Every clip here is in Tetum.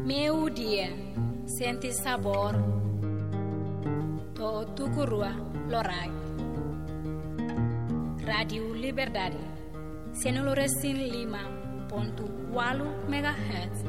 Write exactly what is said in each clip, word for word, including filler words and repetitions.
Meiudia, sente sabór to'o tuku rua loraik. Rádiu Liberdade, sianulu resin lima pontu ualu megahertz.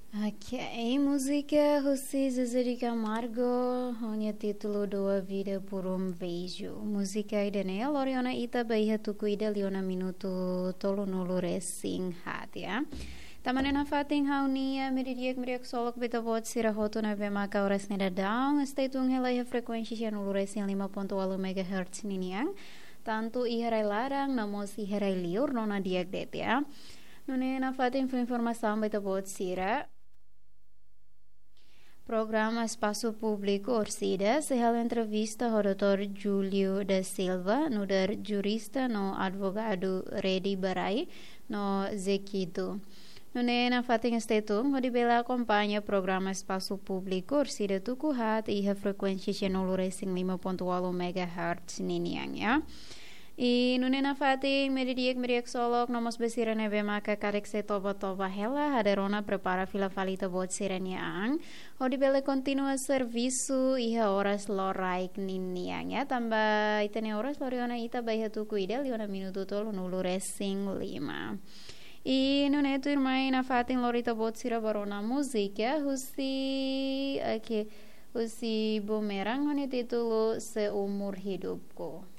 Ok, múzika husi Zezé de Camargo, ho nia títulu Dou a Vida por um Beijo. Múzika ida-ne'e lori ona ita ba iha tuku ida liu ona minutu tolunulu resin haat, ya. Tanba ne'e nafatin ha'u-nia meiudia di'ak, meiudia ksolok ba ita-boot sira hotu ne'ebé maka oras ne'e daudaun stay tune hela iha frekuénsia sianulu resin lima pontu ualu megahertz ninian. Tantu iha rai laran, no mós iha rai liur, rona di'ak de'it, ya. Nune'e nafatin fó informasaun ba ita-boot sira. Programa Espasu Públiku Orsida sei halo entrevista ho doutór Júlio da Silva, nu'udar jurista no advogadu Redi Barai no Zekitu. Nune'e nafatin stay tune hodi bele akompaña programa Espasu Públiku Orsida tuku haat iha frekuénsia sianulu resin lima pontu ualu megahertz ninian, ya. I nune'e nafatin meiudia di'ak, meiudia ksolok, no mós ba sira ne'ebé maka karik sei toba-toba hela, ha'u rona prepara fila fali ita-boot sira-nia an hodi bele kontinua servisu iha oras loraik ninian, ya. Tanba ita-nia oras lori ona ita ba iha tuku ida liu ona minutu tolunulu resin lima. I nune'e tuirmai nafatin lori ita-boot sira ba rona múzika husi, ok, husi Bumerang ho nia títulu Seumur Hidupku.